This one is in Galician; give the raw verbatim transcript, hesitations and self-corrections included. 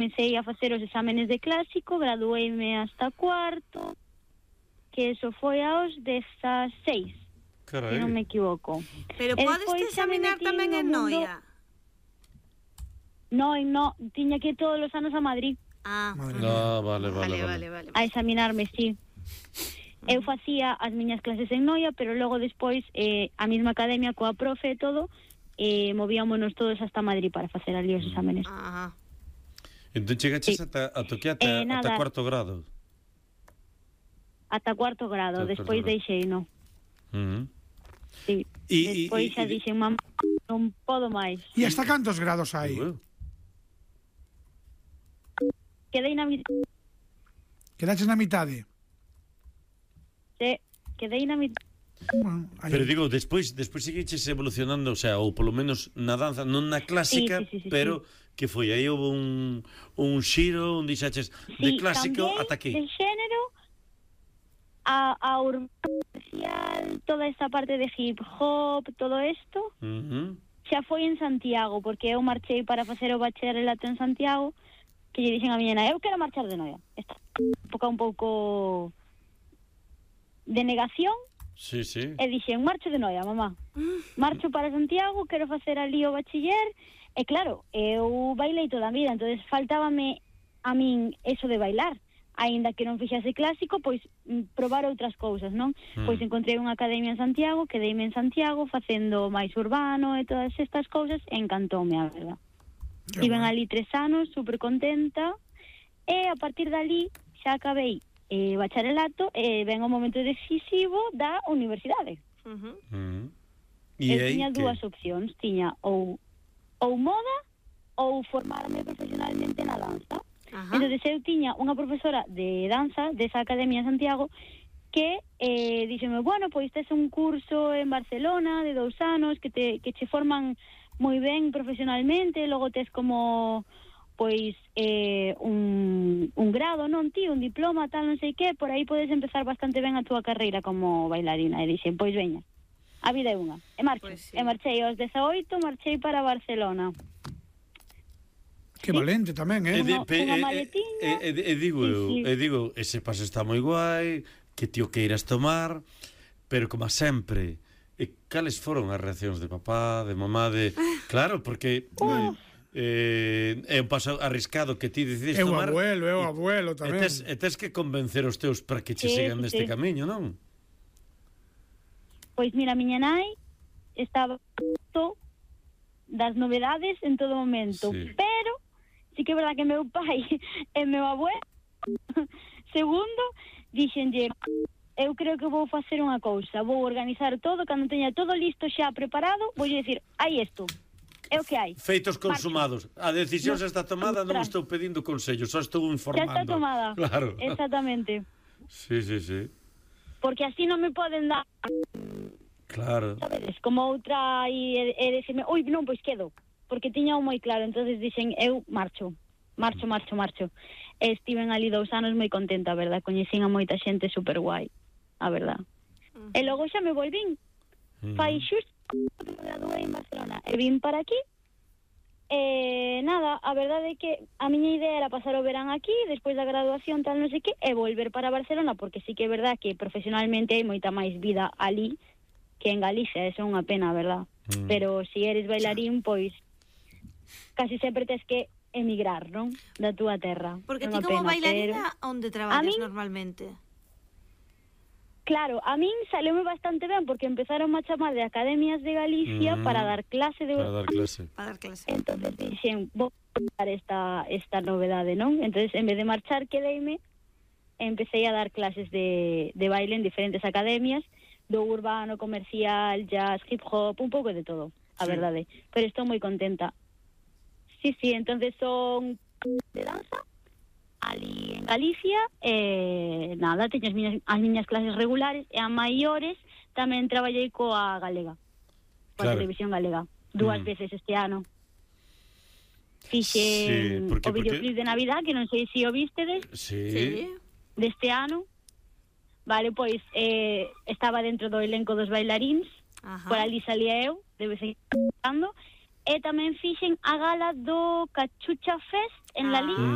comecei a facer os exámenes de clásico, gradueime hasta cuarto, que eso foi aos dezaseis, Carai. se non me equivoco. Pero podes te examinar tamén en Noia? Non, non, tiña que ir todos os anos a Madrid. Ah, ah vale, vale, vale, vale. vale. A examinarme, sí. Eu facía as miñas clases en Noia, pero logo despois eh, a mesma academia coa profe e todo, eh, movíamonos todos hasta Madrid para facer ali os exámenes. Ajá. Entón chegaches Sí. ata, ata, ata, Eh, ata nada. cuarto grado. Ata cuarto grado, Ata despois cuarto grado. deixei, non. Uh -huh. Sí. E, despois e, xa e, dixen, mamá, non podo máis. E hasta cantos grados hai? Bueno. Quedei na mitad. Quedaches na mitade? Sí, quedei na mitad. Bueno, hai- Pero digo, despois despois seguiches evolucionando, o sea, ou polo menos na danza, non na clásica, Sí, sí, sí, sí, pero que foi aí houve un un xiro, un dixaches de Sí, clásico cambiei ata aquí. de xénero a, a urbano social, toda esta parte de hip hop, todo isto, Uh -huh. xa foi en Santiago, porque eu marchei para facer o bacharelato en Santiago, que lle dixen a miña nai, eu quero marchar de Noia. Esta época un pouco de negación, Sí, sí. e dixen, marcho de Noia, mamá. Marcho para Santiago, quero facer ali o bachiller, e claro, eu bailei toda a vida, entonces faltábame a min eso de bailar. Aínda que non fixase clásico, pois mm, probar outras cousas, non? Mm. Pois encontrei unha academia en Santiago, quedeime en Santiago facendo máis urbano e todas estas cousas, e encantoume, a verdad. Estive ali tres anos, super contenta, e a partir dali xa acabei eh, bacharelato e ven o momento decisivo da universidade. Uh -huh. Uh -huh. E Eu aí tiña que- dúas opcións, tiña ou ou moda ou formarme profesionalmente na danza. Ajá. Entón, eu tiña unha profesora de danza desa academia en Santiago que eh, díxeme, bueno, pois tes un curso en Barcelona de dous anos que te que che forman moi ben profesionalmente, logo tes como pois eh, un, un grado, non ti, un diploma, tal, non sei que, por aí podes empezar bastante ben a túa carreira como bailarina. E dixen, pois veña, a vida é unha. E marcho, Pois sí. e marchei aos dezaoito, marchei para Barcelona. Que valente tamén, eh? E, de, Unha- pe, unha e, maletiña. e, e, e digo Sí, eu, sí. e digo, ese paso está moi guai, que tío queiras tomar, pero como sempre, e cales foron as reaccións de papá, de mamá, de... Claro, porque eh, eh, é un paso arriscado que ti decides Eu tomar. abuelo, eu e- abuelo E tamén. tes, e tes que convencer os teus para que che Sí, sigan sí, neste sí. camiño, non? Pois mira, miña nai estaba to das novedades en todo momento, Sí. pero sí que é verdad que meu pai e meu abuelo segundo dixenlle, eu creo que vou facer unha cousa, vou organizar todo, cando teña todo listo xa preparado, vou dicir, hai isto, é o que hai. Feitos consumados. A decisión xa está tomada, non Ostras. estou pedindo consello, só estou Xa informando. está tomada. Claro. Exactamente. Sí, sí, sí. Porque así non me poden dar, Claro. sabedes, como outra e, e decirme, ui, non, pois quedo, porque tiña moi claro, entonces dixen, eu marcho, marcho, marcho, marcho. E estiven ali dous anos moi contenta, a verdad, coñecín a moita xente super guai, a verdad. Uh -huh. E logo xa me volvín, Mm. fai xusto, me graduei en Barcelona, e vin para aquí, e nada, a verdade é que a miña idea era pasar o verán aquí, despois da graduación, tal, non sei que, e volver para Barcelona, porque sí que é verdad que profesionalmente hai moita máis vida ali que en Galicia, eso é unha pena, verdad? Mm. Pero se si eres bailarín, pois casi sempre tes que emigrar, non? Da túa terra. Porque É ti unha como pena, bailarina, pero... onde traballas A min- normalmente? Claro, a min saleume bastante ben porque empezaron a chamar de academias de Galicia Mm. para dar clase de... Para dar clase. Para dar clase. Entonces dixen, vou dar esta, esta novedade, non? Entonces, en vez de marchar, quedeime, empecé a dar clases de, de baile en diferentes academias, do urbano, comercial, jazz, hip hop, un pouco de todo, a Sí. verdade. Pero estou moi contenta. Sí, sí, entonces son de danza, ali en Galicia, e nada, teño as miñas, as miñas clases regulares, e a maiores tamén traballei coa galega, coa Claro. televisión galega, dúas Mm. veces este ano. Fixen Sí, porque- o videoclip porque- de Navidad, que non sei se o vistedes, Sí. Sí. deste ano. Vale, pois eh, estaba dentro do elenco dos bailaríns, Ajá. por ali salía eu, de vez en cando, e tamén fixen a gala do Cachucha Fest en La Ah. Liga,